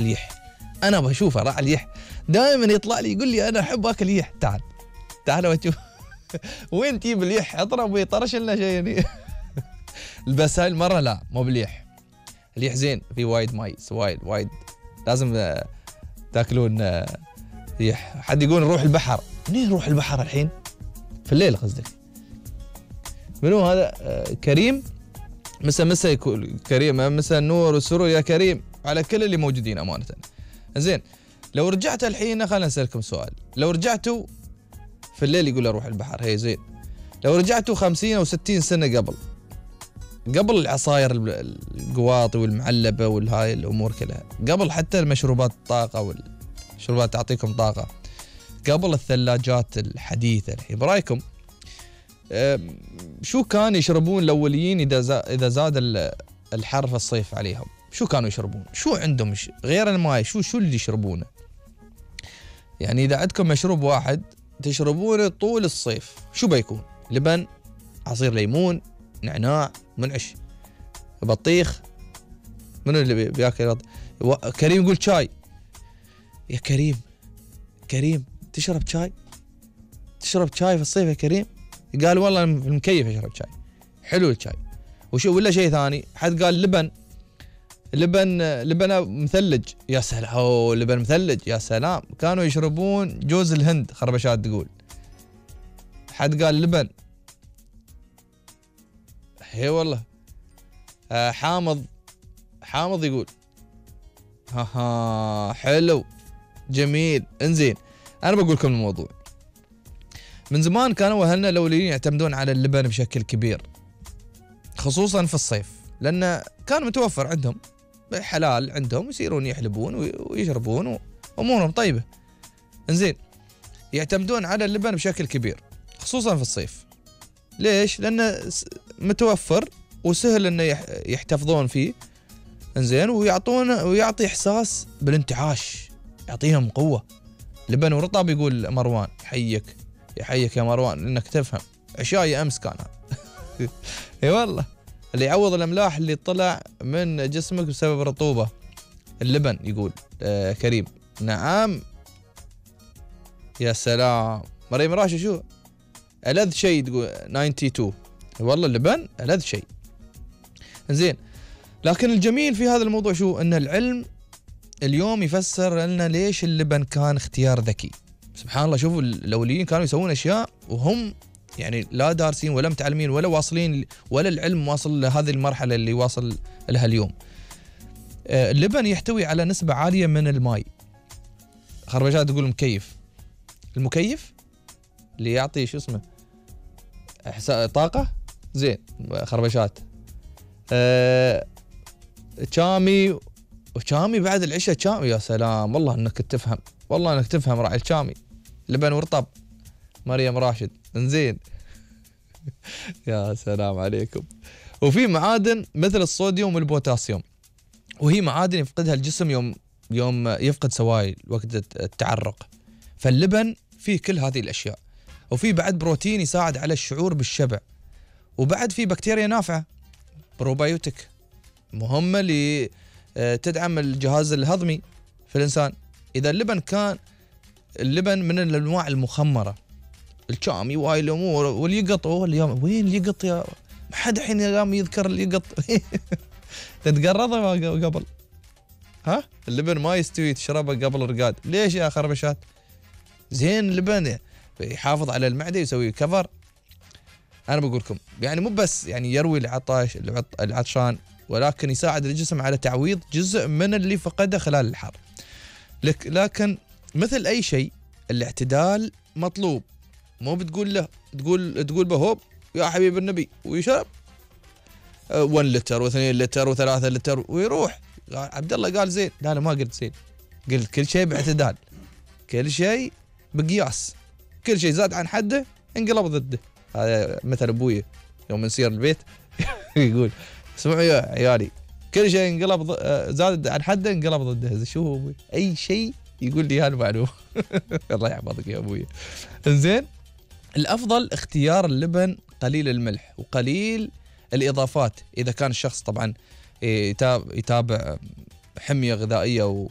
اليح. انا بشوفه راعي اليح دائما يطلع لي يقول لي انا احب اكل يح. تعال واشوف وين تجيب اليح؟ اضرب ويطرش لنا شيء يعني. بس هاي المره لا، مو باليح. اليح زين، في وايد مايس، وايد لازم تاكلون يح. حد يقول نروح البحر. منين نروح البحر الحين؟ في الليل قصدك؟ منو هذا؟ كريم. مسا يكون كريم، مسا النور والسرور يا كريم على كل اللي موجودين امانه. زين، لو رجعت الحين خلينا نسألكم سؤال. لو رجعتوا في الليل يقول اروح البحر، هي زين. لو رجعتوا 50 او 60 سنه قبل العصاير القواطي والمعلبه والهاي الامور كلها، قبل حتى المشروبات الطاقه والشربات تعطيكم طاقه، قبل الثلاجات الحديثه الحين، برايكم شو كان يشربون الاوليين اذا زاد الحر في الصيف عليهم؟ شو كانوا يشربون؟ شو عندهم غير الماء؟ شو اللي يشربونه؟ يعني اذا عندكم مشروب واحد تشربونه طول الصيف، شو بيكون؟ لبن، عصير ليمون، نعناع، منعش، بطيخ. منو اللي بياكل؟ كريم يقول شاي. يا كريم تشرب شاي في الصيف يا كريم؟ قال والله المكيف اشرب شاي، حلو الشاي. وشو ولا شيء ثاني؟ حد قال لبن مثلج. يا سلام، لبن مثلج يا سلام. كانوا يشربون جوز الهند، خربشات تقول. حد قال لبن. هي والله. حامض يقول حلو جميل. انزين، انا بقول لكم الموضوع. من زمان كانوا اهلنا الاولين يعتمدون على اللبن بشكل كبير، خصوصا في الصيف، لانه كان متوفر عندهم، حلال عندهم، يصيرون يحلبون ويشربون وامورهم طيبه. انزين، يعتمدون على اللبن بشكل كبير خصوصا في الصيف. ليش؟ لانه متوفر وسهل انه يحتفظون فيه. انزين، ويعطي احساس بالانتعاش، يعطيهم قوه. لبن ورطب يقول مروان. يحييك يا مروان انك تفهم. عشاي امس كان. اي والله، اللي يعوض الاملاح اللي طلع من جسمك بسبب الرطوبه. اللبن يقول كريم. نعم يا سلام. مريم راشد شو ألذ شيء تقول 92. والله اللبن ألذ شيء. زين، لكن الجميل في هذا الموضوع شو؟ ان العلم اليوم يفسر لنا ليش اللبن كان اختيار ذكي. سبحان الله، شوفوا الاوليين كانوا يسوون اشياء وهم يعني لا دارسين ولا متعلمين ولا واصلين، ولا العلم واصل لهذه المرحله اللي واصل لها اليوم. اللبن يحتوي على نسبه عاليه من الماء. خربشات تقول المكيف اللي يعطي شو اسمه طاقه. زين، خربشات شامي بعد العشاء. شامي يا سلام، والله انك تفهم راعي الشامي. لبن ورطب. مريم راشد. انزين. يا سلام عليكم. وفي معادن مثل الصوديوم والبوتاسيوم، وهي معادن يفقدها الجسم يوم يفقد سوائل وقت التعرق. فاللبن فيه كل هذه الاشياء. وفي بعد بروتين يساعد على الشعور بالشبع. وبعد في بكتيريا نافعه بروبايوتيك مهمه تدعم الجهاز الهضمي في الانسان. اذا اللبن من الانواع المخمره، الشامي وهاي الامور واليقط. اليوم وين اليقط يا ما حد الحين قام يذكر اليقط. تتقرضه قبل. اللبن ما يستوي تشربه قبل الرقاد. ليش يا خربشات؟ زين، اللبن يحافظ على المعده، يسوي كفر. انا بقول لكم يعني مو بس يعني يروي العطشان، ولكن يساعد الجسم على تعويض جزء من اللي فقده خلال الحر. لكن مثل اي شيء الاعتدال مطلوب. مو بتقول له تقول بهوب يا حبيب النبي ويشرب 1 لتر و2 لتر و3 لتر ويروح. عبد الله قال زين. لا ما قلت زين، قلت كل شيء باعتدال، كل شيء بقياس. كل شيء زاد عن حده انقلب ضده. هذا مثل ابوي يوم نسير البيت يقول اسمعوا يا عيالي، كل شيء انقلب زاد عن حده انقلب ضده. شو هو ابوي؟ اي شيء يقول لي هالمعلومه. الله يحفظك يا ابوي. زين، الافضل اختيار اللبن قليل الملح وقليل الاضافات، اذا كان الشخص طبعا يتابع حمية غذائية